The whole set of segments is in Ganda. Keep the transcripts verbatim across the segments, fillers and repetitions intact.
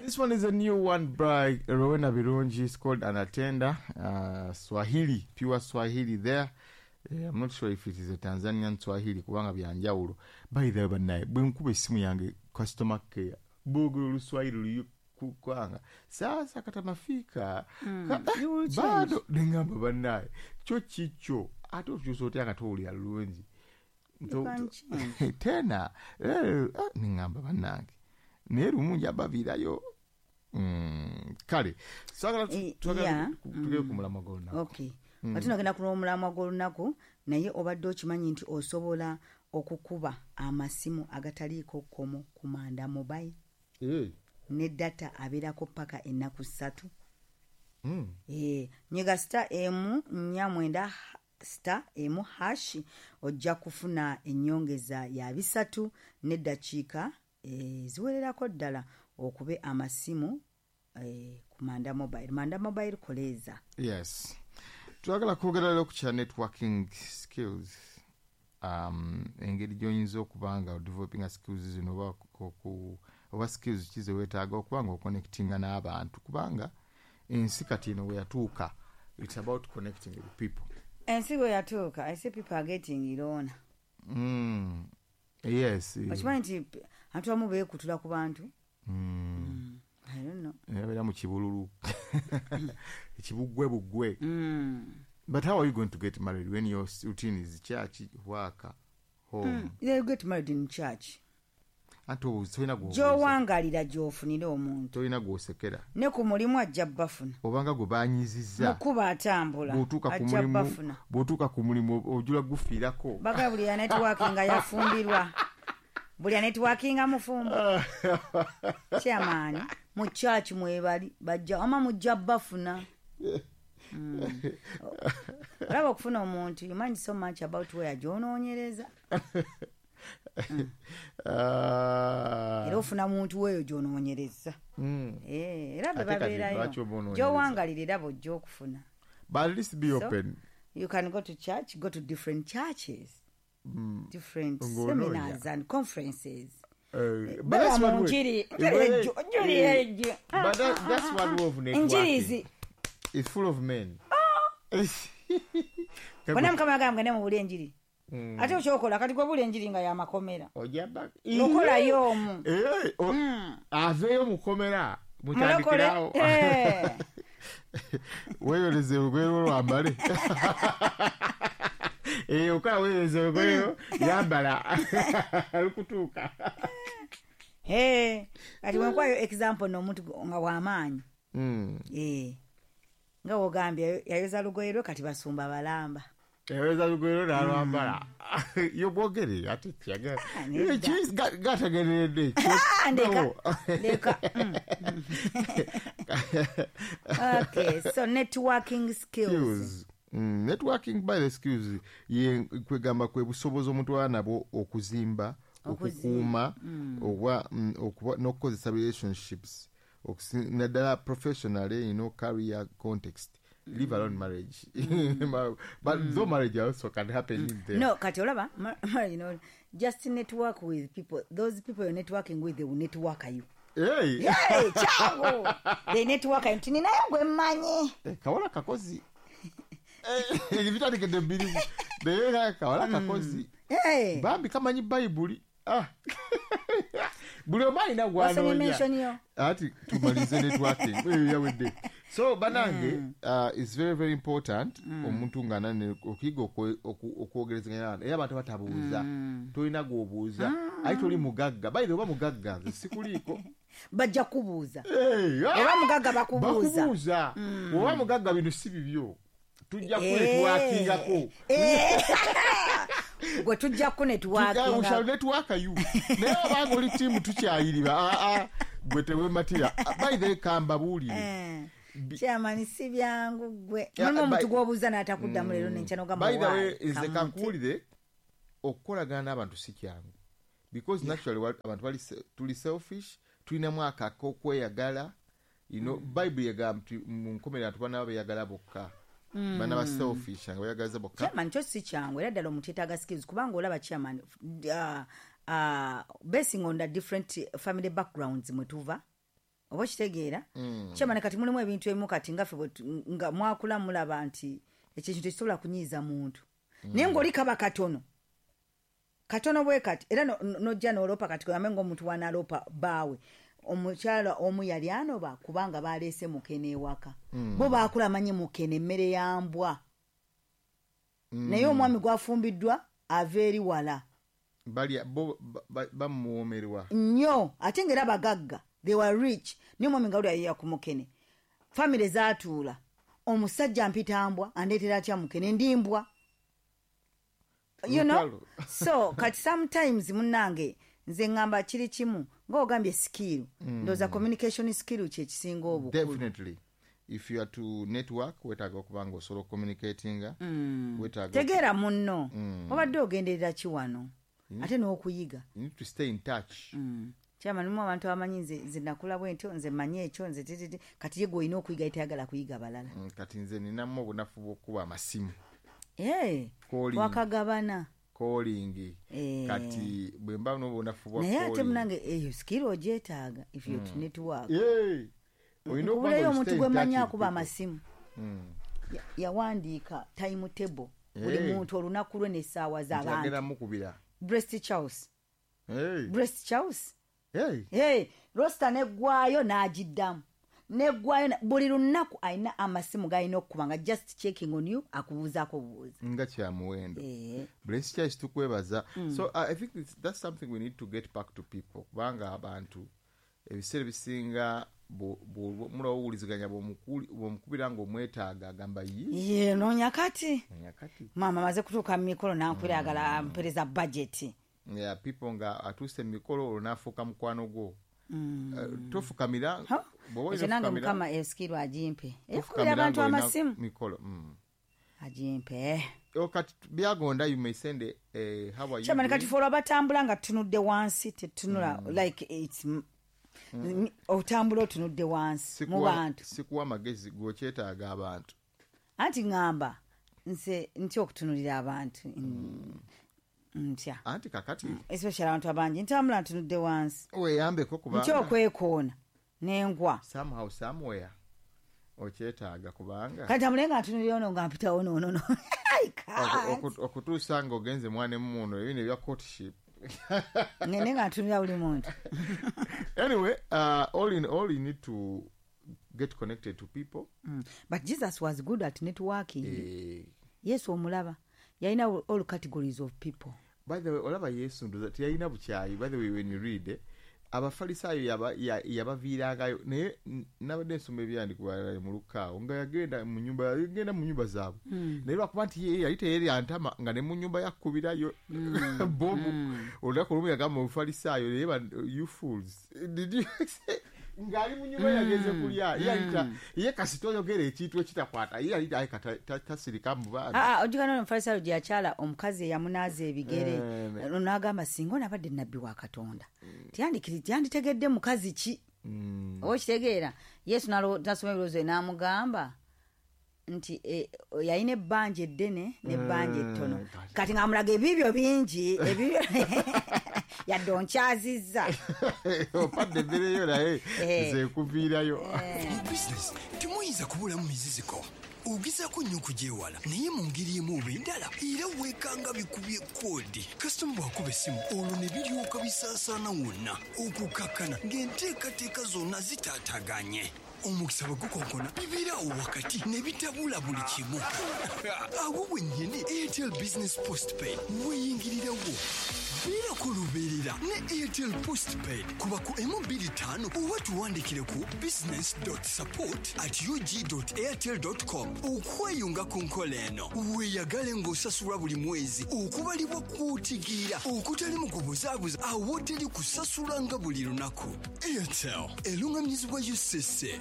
This one is a new one by Rowena Birungi. It's called Anatenda. Uh, Swahili, pure Swahili there. Eh, I'm not sure if it is a Tanzanian Swahili kubanga byanjawulo. By the way, bannaye, bwe nkuba essimu yange customer care, boogera Oluswahili luyu kwanga. Sasa kata mafika. Mm, you will change. Bado nengamba bannaye. Kyo kikyo ate okyusa otya nga towulira lulungi. You To- can to- change. Tena eh, ah, nengamba bannange. Naye lumu njabaviirayo. Mm, kale twagala Eh, twagala yeah. tugere ku mulamwa gw'olunaku. Okay, ate nagenda ku omulamwa gw'olunaku, naye obadde okimanyi nti osobola okukuba amasimu agataliiko kkomo ku Manda Mobile Eh, ne data abeerako paka ennaku ssatu? mm. Eh, nyiga star emu nnya mwenda star emu hash, ojja kufuna ennyongeza ya bisatu n'eddakiika eh, ziwererako ddala okube amasimu eh, ku Manda Mobile. Manda Mobile, koleeza. Yes, twagala kwogera leero ku kya networking skills, um, engeri gy'oyinza okuba nga odevelopinga skills zino oba oku- oba skills ki zeweetaaga okuba nga oconnectinga n'abantu, kubanga ensi kati eno weyatuuka, it's about connecting with people. Ensi bwe yatuuka, I see people are getting irona. mm. yes Okimanyi nti abantu abamu beekutula ku bantu? mm. I don't know. Abeera mu kibululu ekibugwe bugwe. Mm. But how are you going to get married when your routine is church, work, home? They get married in church. Ate obu- tolina gw'obuuza. Gy'owangalira gy'ofunira omuntu. Tolina gw'osekera. Ne ku mulimu ajja bafuna. Obanga gwe banyizizza. Mukuba atambula Bw'otuuka ku ajja mulimu, bafuna. bw'otuuka ku mulimu ojula gufiirako. Baga buli ya networking yafumbirwa, buli ya networking mufumbo. Chairman, mu church mwebali bajja ama mujja bafuna. Mm. Olaba okufuna omuntu, you mind so much about where gy'onoonyereza. Ah. Era ofuna muntu weeyo gy'onoonyereza. Mm. Eh, era be Ate kati babeerayo. lwaki oba onoonyereza? Gy'owangalira era bw'ojja okufuna. But at least be So, open. You can go to church, go to different churches, different Ng'onoonya. seminars and conferences. Uh, but Baba that's mu one way. njiri, Eh, njiri well, ejjo, njiri eh, ejjo. But that, that's one way of Njiri networking. zi. It's full of men. Bonna Mukama yagamba mugende mubule enjiri. Mm. Ate okyokola kati gwe bula enjiri nga yamakomera. Ojja ba- Okolayo omu. Eh, o- aveeyo mukomera. Mulokole. Mutandikirawo. Eh. Weeyoleze olugoye lwo lwambale. Eh, okola weeyoleze olugoye lwo yambala lukutuuka. Eh, kati wenkwayo example n'omuntu nga w'amaanyi. Mm. Eh. Nga wogambye yayoza lugoye lwe, kati basumba balamba. Yayoleza lugoye lwo n'alwambala. Yo bwogere ate kyagala. Ah, nedda. Eh, kis- ga- gategereredde. Ah, ndeka. No. Ndeka. Mm. Okay, so networking skills. Skills. Mm, networking by the skills ye kwegamba kwe busobozi omuntu aba nabwo okuzimba, okukuuma oba mm, okuba n'okukozesa relationships, okusi- naddala professionally, you know career context, leave alone marriage, but though marriage also can happen in there. No, kati olaba, ma- ma- you know, just network with people. Those people you're networking with, they will network you. Hey. Hey, changu. They network you. Nti ninayo gwe mmanyi. Eh, kawala kakozi. Eh, bitandikidde bbiri naye kawala kakozi. Hey. Bambi kamanyi Bayibuli. Ah. Buli omu alina Wasomye gwanoonya. mention yo. Ati tumalize networking. Eh, yawedde. So banange, uh, it's very very important omuntu nga nane okuyiga okwe- oku- okwogerezeganya n'abantu, era abantu batabuuza, tolina gw'obuuza aye toli mugagga. By the way, oba mugagga nze sikuliiko. Bajja kubuuza. Hey, ah! Oba mugagga bakubuuza. Bakubuuza. Oba mugagga bino si bibyo, tujja Eh. kunetworkingako. Eh. Gwe tujja We shall kunetworkinga. network you. Naye obanga oli tiimu tukyayiriba, ah, ah, gwe tewematira. By the way, kambabuulire. Eh. Chairman, si byangu gwe. Yeah, Mulimu omuntu by- gw'obuuza n'atakuddamu leero n'enkya n'ogamba, By the way, "Why?" nze Kamuntu. kankuwulire, okukolagana n'abantu si kyangu because naturally wa- abantu bali se- tuli selfish, tulinamu ako ak'okweyagala you know Bible egamba nti mu nkomerero abantu banaba beeyagala bokka, banaba selfish nga beeyagaliza bokka. Chairman, kyo si kyangu era ddala omuntu yeetaaga skills, kubanga olaba chairman, uh, uh, basing on the different family backgrounds mwe tuva. Oba okitegeera? Kyamane kati mulimu ebintu ebimu kati nga ffe bwe tu- nga mwakula mulaba nti ekyo ekintu tekisobola kunyiiza muntu. Naye ng'oli kaba katono. Katono bwe kati era no- no- n'ojja n'oloopa kati kugambe ng'omuntu w'anaaloopa bbaawe. Omukyala omu yali anoba kubanga baleese mukene ewaka. Bo baakula manyi mukene emmere ya mbwa. Naye omwami gw'afumbiddwa ava eri wala. Balya bo ba- ba- bamuwoomerwa. Nnyo ate ng'era bagagga, they were rich, naye omwami nga wuli yayiya ku mukene. Famire zaatuula, omusajja mpita mbwa, andeetera atya mukene, ndi mbwa, you know? Lutalo. So kati sometimes munnange nze ŋŋamba kiri kimu ng'ogambye skill, ndowooza communication skill kyekisinga obukulu. Definitely, if you are to network, weetaaga okuba nga osobola ocommunicatinga, weetaaga tegeera munno obadde ogenderera ki wano ate n'okuyiga. You need to stay in touch. Kyama nimu abantu abamanyi nze nze nakula bwe ntyo, nze manyi ekyo, nze tititi, kati ye gwe olina okuyiga tayagala kuyiga balala. Mm, kati nze ninamu obunafu bw'okuba amasimu. Eh, Calling. Wakagabana. Calling. Eh. Kati bwe mba n'obunafu bwa Naye ate calling. munange eyo skill ogyetaaga if you to network. Hey, olina okuba nga Nkubuleyo you omuntu stay in gwe touch mmanyi with akuba people. amasimu. Ya- yawandiika timetable buli Eh. muntu olunaku lwe n'essaawa Nti agenda z'abantu. mukubira. Breast Charles. Hey. Breast Charles. Hey. Hey, roster neggwayo n'agiddamu neggwayo na- buli lunaku alina amasimu galina okukuba nga just checking on you, akubuuzaako bubuuza. Nga kyamuwendo. Eh. Bless Church tukwebaza. So uh, I think it's, that's something we need to get back to people, kubanga abantu ebiseera ebisinga mulawuwuliziganya bw'omukubira ng'omwetaaga agamba yi. Ye noonya kati Kati maama amaze kutuuka mu mikolo nankwira agala ampereza budget. Yeah, people nga atuuse mu mikolo olwo n'afuuka mukwano gwo. Eh, tofukamira Ha? bw'oba olina Ekyo nange ofukamira- mukama eskill agimpe ekubira tofukamira abantu ng'olina amasimu. Mikolo mm. Agimpe. Oh, kati byagonda you may send a, eh, how are you Kyamani kati doing? fe olwo abatambula nga tutunudde wansi tetunula like its mm. otambula otunudde wansi mu Sikuwa- bantu. Sikuwa magezi gwokyetaaga abantu. Anti ŋŋamba nze ntya okutunulira abantu. Mm, ntya Anti kakati especially abantu abangi ntambula ntunudde wansi. Weeyambeko Ntya kubanga okwekoona nengwa. Somehow somewhere okyetaaga kubanga Kati tambule nga ntunulira ono nga mpitawo noonono. I can't. Oku- okutuusa nga ogenze mwana emuno ebino ebya courtship. Ngende nga ntunulira buli muntu. Anyway, uh, all in all, you need to get connected to people. Mm. But Jesus was good at networking. Eh, Yesu omulaba yalina all categories of people. By the way, olaba Yesu ndoza teyalina bukyayi. By the way, when you read eh, abafalisaayo yaba- ya- yabaviirangayo naye n- nabadde nsoma ebyandikibwa mu lukaawo nga yagenda mu nyumba yagenda mu nyumba zaabwe, naye lwakuba nti ye yali teyerya ntama nga ne mu nyumba yakkubirayo bomu. Olunaku olumu yagamba omufalisaayo naye ba- "You fools, did you say," ng'ali mu nyumba yagenze kulya ye yali ta- ye kasita oyogera ekintu ekitakwata ye yali aleka ta- ta- tasirika mu baana. Ah, ah, ojjukira n'ono omufalisaayo gye yakyala omukazi eyamunaaza ebigere Eh, n'agamba singa onabadde nabbi wa Katonda tiyandikiri- tiyanditegedde mukazi ki. Oba okitegeera Yesu nalo- nasoma ebirowoozo bye n'amugamba nti eh, yalina ebbanja eddene n'ebbanja ettono, kati ng'amulaga ebibyo bingi ebibyo yadde onkyazizza. Opadde embeereyo naye Eh. nze nkuviirayo. Mu bizinesi temuyinza kubulamu miziziko, ogezaako nnyo okugyewala naye mu ngeri emu oba endala era weekanga bikubye koodi. Kasitoma bw'akuba essimu olwo ne biryoka bisaasaana wonna okukakkana ng'enteekateeka zonna zitaataganye. Omukisa bwe gukonkona bibeeraawo wakati ne bitabula buli kimu. Awo wennyini Airtel Business Postpaid weeyingirirawo. Beerako lubeerera ne Airtel Postpaid kuba ku emu bbiri ttaano oba tuwandikire ku business support at ug airtel com okweyunga ku nkola eno weeyagale ng'osasulwa buli mwezi okubalibwa kw'otegeera okutali mu kubuzaabuza awoteri kusasula nga buli lunaku. Airtel eruŋŋamizibwa U C C.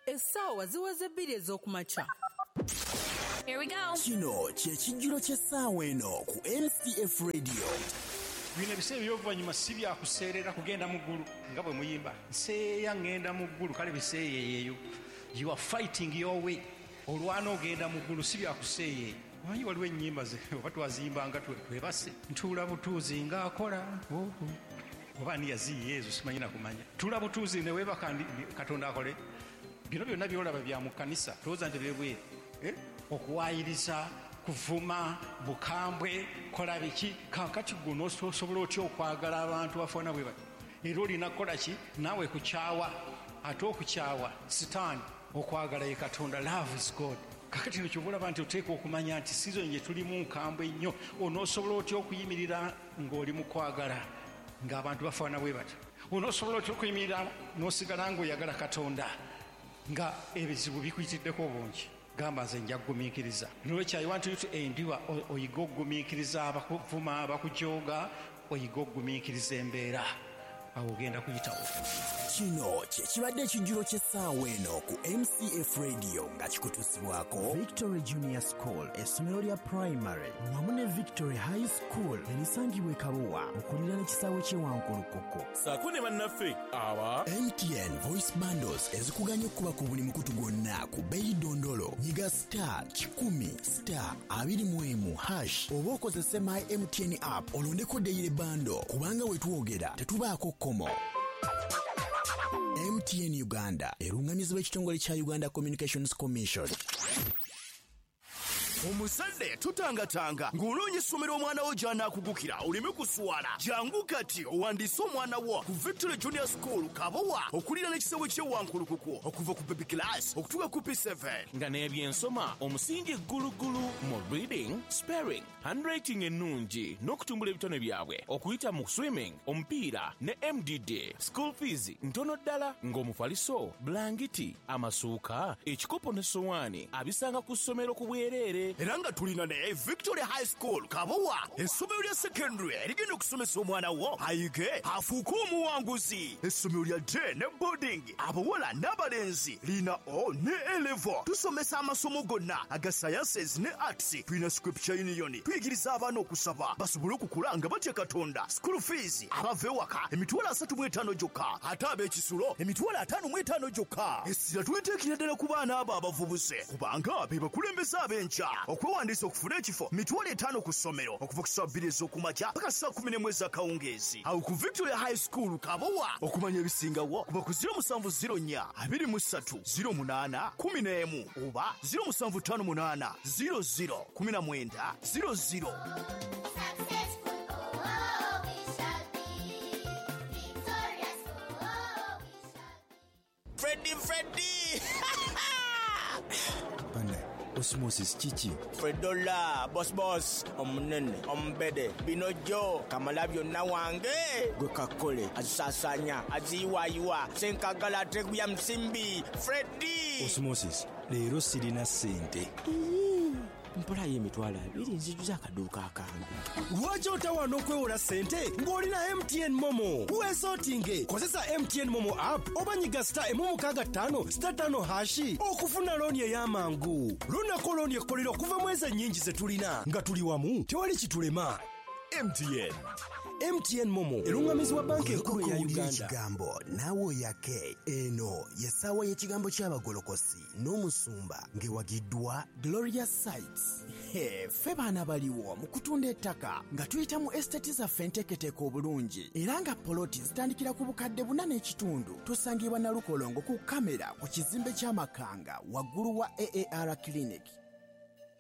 Essaawa ziweze bbiri ez'okumakya. Here we go. Kino kye kijjulo ky'essaawa eno ku M C F Radio. Bino ebiseera eby'oluvannyuma si byakuseerera kugenda mu ggulu nga bwe muyimba nseeya ŋŋenda mu ggulu kale biseeyeeyo. You are fighting your way, olwana ogenda mu ggulu si byakuseeyeeya. Omanyi waliwo ennyimba ze oba twazimbanga twe- twebase ntuula butuuzi ng'akola. Oh, oh. Oba ani yaziyiye ezo simanyi na kumanya. Tula butuuzi ne weebaka Katonda akole. Bino byonna by'olaba bya mu kkanisa, tolowooza nti byebweru. Eh? Okuwaayiriza, kuvuma, bukambwe, kola biki. Kaakati gwe onoosobola otya okwagala abantu bafaanana bwe bati? Era olina kukola ki? Naawe kukyawa. Ate okukyawa Sitaani, okwagala ye Katonda. Love is God. Kakati no ky'oba olaba nti oteekwa okumanya nti season gye tulimu nkambwe nnyo. Onoosobola otya okuyimirira ng'oli mu kwagala ng'abantu bafaanana bwe batyo? Onoosobola otya okuyimirira n'osigala ng'oyagala Katonda nga ebizibu bikuyitiddeko obungi? Gamba nze nja kugumiikiriza. Nolwekyo I want you to endure, oyige okugumiikiriza abakuvuma, abakujooga, oyige okugumiikiriza embeera. Awo ogenda kuyitawo. Kino kye kibadde ekijjulo ky'essaawa eno ku M C F Radio nga kikutuusibwako Victory Junior School, essomero lya primary wamu ne Victory High School erisangibwa e Kabowa okuliraana ekisaawe ky'e Wankulukuku. Ssaako ne bannaffe aba M T N Voice Bundles ezikuganya okuba ku buli mukutu gwonna ku bbeeyi ddondolo. Nyiga star kikumi star abiri mu emu hash oba okozese My M T N app olondeko daily bundle kubanga we twogera tetubaako kkomo. M T N Uganda erungamizibwa ekitongole kya Uganda Communications Commission. Omuzadde tutangatanga ng'onoonya essomero omwana wo gy'anaakugukira oleme kuswala. Jangu kati owandiise omwana wo ku Victory Junior School Kabowa okuliraana ekisaawe ky'e Wankulukuku okuva ku baby class okutuuka ku P seven. Nga n'ebyensoma omusingi ggulugulu mu reading, spelling, handwriting ennungi n'okutumbula ebitone byabwe okuyita mu swimming, omupiira ne M D D. School fees ntono ddala ng'omufaliso, bulangiti, amasuuka, ekikopo ne sowaani abisanga ku ssomero ku bwereere. Era nga tulina ne Victory High School Kabowa, essomero lya secondary erigenda okusomesa omwana wo ayige afuuke omuwanguzi. Essomero lya day ne boarding, abawala n'abalenzi, lina O ne A level. Tusomesa amasomo gonna aga sciences ne arts. Tulina Scripture Union, tuyigiriza abaana okusaba basobole okukula nga batya Katonda. School fees abava ewaka emitwalo asatu mu etaano gyokka, ate ab'ekisulo emitwalo ataano mu etaano gyokka. Essira tuliteekera ddala ku baana abo abavubuse kubanga be bakulembeze ab'enkya. Okwewandiisa okufuna ekifo mitwalo etaano ku ssomero okuva ku ssaawa bbiri ez'okumakya paka ssaawa kumi n'emu ez'akawungeezi. Awo ku Victoria High School Kabowa. Okumanya ebisingawo kuba ku ziro musanvu ziro nnya abiri mu ssatu ziro munaana kumi n'emu oba ziro musanvu ttaano munaana ziro ziro kumi na mwenda ziro ziro. Freddy, Freddy! Osmosis kiki? Fredola, boss boss, omunene, ombede, binojo, kamala byonna wange. Gwe kakole, azisasanya, aziyiwayiwa, senkagala ateguya msimbi, Freddy! Osmosis, leero sirina ssente. Mpolayo emitwalo abiri nzijuza akaduuka akange. Lwaki otawaana okwewola ssente ng'olina M T N Momo? Weesootinge, kozesa M T N Momo app oba nyiga star emu mukaaga ttaano star ttaano hashi okufuna looni ey'amangu. Lunako looni ekkolera okuva mu ezo ennyingi ze tulina nga tuli wamu tewali kitulema. M T N. M T N Momo erungamizibwa banka enkulu ya Uganda. Ekigambo naawe oyake. Eno y'essaawa y'ekigambo ky'abagolokosi n'omusumba ng'ewagiddwa Gloria Sites. He, ffe baana baliwo mu kutunda ettaka nga tuyita mu estate zaffe enteeketeeke obulungi era nga poloti zitandikira ku bukadde buna n'ekitundu. Tusangibwa Nalukolongo ku kamera ku kizimbe ky'Amakanga waggulu wa A A R Clinic.